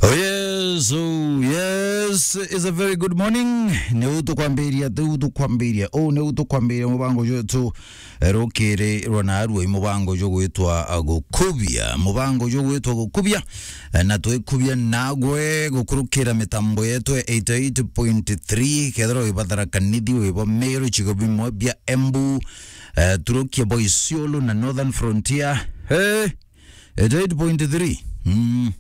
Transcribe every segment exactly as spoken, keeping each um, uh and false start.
Oh yes, oh yes, it's a very good morning. Ni u tukwambiria, ni u tukwambiria, oh, ni u tukwambiria mubango jwetu, eh, rukiri rwa narua i mubango jugwitwa, ah, Gukubia. Mubango jugwitwa Gukubia, eh, na twikubia nagwe gukurukira mitambo yetu ya eighty-eight point three, kethira wibathara kanithi, wibo Meru, cigo bimwe bia Embu, eh, turukia bo Isiolo na Northern Frontier. Eh, eighty-eight point three. Mm.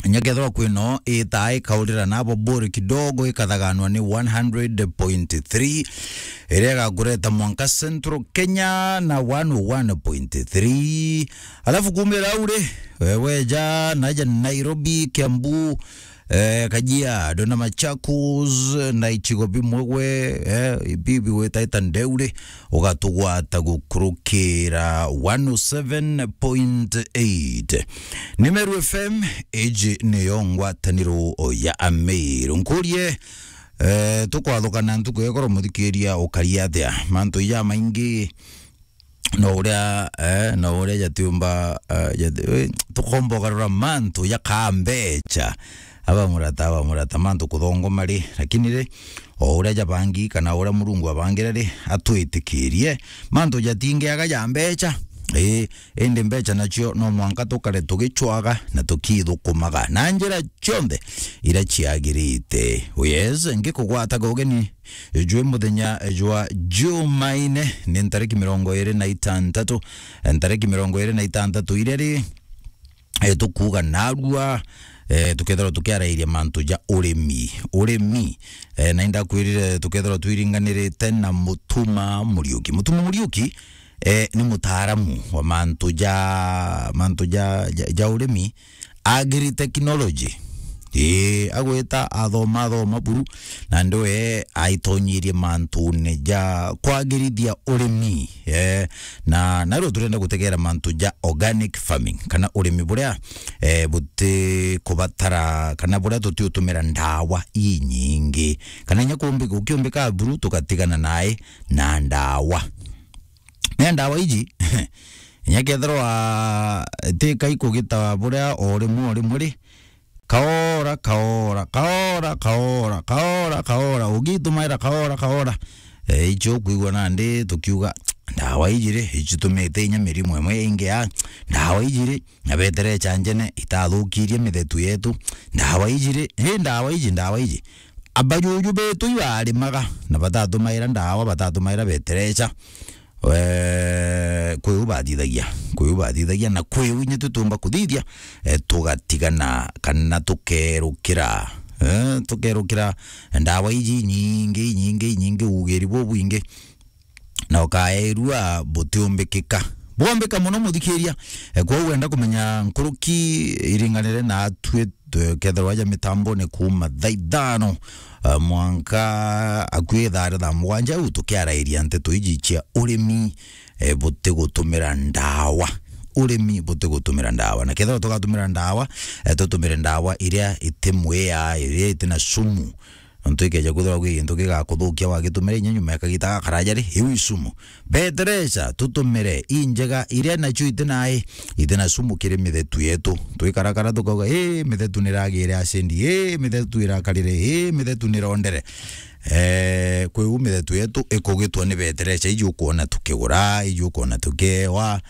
Nyakethirwa kwino itaa ikaurira nabo buri kidogo, ikathaganwa ni one hundred point three, iria igakureta mwanka Central Kenya na one oh one point three. Alafu kumira au ri, we-, weja naja Nairobi, Kiambu, eh, Kajiado na Machakos na icigo bimwe gwe, eh, bibi gwitaita ndeu ri, ugatugwata gukurukira one oh seven point eight. Ni Meru F M, iji niyo ngwataniro ya Ameru. Nkurie, eh, tukwathukana ntuku ya ikoro, muthikiria, ukari atia? Mantu jamaingi, no uria, eh, no uria jatiumba, eh, jati-, eh, tukomba ugarura mantu jakaa mbecha. Aba murata, aba murata, mantu kuthongoma ri, lakini ri, o uria jabangi kana uria Murungu abangire ri, atwitikirie. Mantu jatingiaga ja mbecha. Ii, indi mbecha nacio no mwanka tukare tugicwaga na tukithukumaga na njira cionthe iria ciagirite. Oh yes, ngikugwataga ugeni jwi muthenya jwa Jumaine, ni ntariki mirongo iri na itantatu, ntariki mirongo iri na itantatu iria ri, eh, tukuuga narua, eh, tukethirwa tukiarairia mantu ja urimi. Urimi, eh, na indakwirire tukethirwa twiringanirite na Mutuma Muriuki. Mutuma Muriuki, eh, ni mutaaramu wa mantu ja, mantu ja, ja, ja urimi, agritechnology. Ii, agwita athoma, athoma buru, na ndiwe aitonyirie mantune ja kwagirithia urimi. Eh, na, na riu turenda gutegera mantu ja organic farming, kana urimi buria, eh, buti kubatara, kana buria tuti utumira ndawa inyingi. Kana inya kumbi-, ukiumbika buru, tugatigana nae na ndawa. Na ndawa iji, inya kethirwa ti kai kugita buria o rimwe o rimwe ri, kaora, kaora, kaora, ugitumaira kaora, kaora. Eh, icio ukwigua nandi tukiuga, ndawa iji ri, icitumite inya mirimu imwe ingi ya, ndawa iji ri, na beterecha njene itathukirie mithetu yetu, ndawa iji ri, hi ndawa iji, ndawa iji. Abajuju betu ibarimaga, na batatumaira ndawa, batatumaira beterecha. Eh, kwi u bathithagia, kwi u bathithagia, na kwi u inya tutumba kuthithia, eh, tugatigana kana tukerukira, eh, tukerukira ndawa iji nyingi, nyingi, nyingi, ugiri bubwingi, na ukaerua butiumbikika. Bwombika muno, muthikiria. Eh, kwou wenda kumenya nkuruki iringanire na atwi, kethirwa aja mitambone kuuma thaa ithano, eh, mwanka akui thaa thaa mugwanja, u tukiarairia nteto iji cia urimi, eh, butigutumira ndawa. Urimi butigutumira ndawa. Na kethirwa tugatumira ndawa, eh, tutumire ndawa iria iti mwia, iria iti na sumu. Nontu ikeja kwithirwa gwi gintu gigakuthukia wagitumira inya nyuma ya kagita gakaraja ri, iu i sumu. Beterecha tutumire injega iria nacio iti nai, iti na sumu kiri mithetu yetu. Twikarakara tukauga, "Ii, mithetu niragire acindi, ii, mithetu irakarire, ii, mithetu nirondere." Eh, kwi u mithetu yetu ikugitwa ni beterecha, iji ukwona tukigura, iji ukwona tukiewa,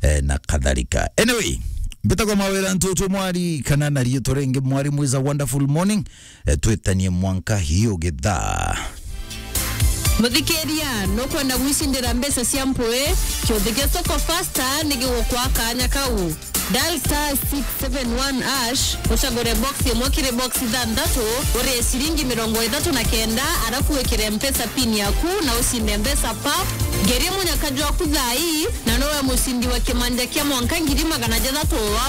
eh, na kadhalika. Anyway, mbitagwa Mawira Ntutu Mwari, kana na riitwa ringi Mwari Mwiza Wonderful Morning, eh, twitanie mwanka hiyo githaa. Muthikiria, nukwenda gwicindira mbeca cia mpui? Kiuthi gia Soko Fasta ni gigukwa kanya kau. Dial star six seven one hash, ucagure box imwe kiri box ithanthatu, urie ciringi mirongo ithatu na kenda, arafu wikire Mpesa pin yaku na ucinde mbeca pap. Ngeria munyaka jwaku thaa ii, na nowe mucindi wa kimanja kia mwanka ngiri magana jathatu wa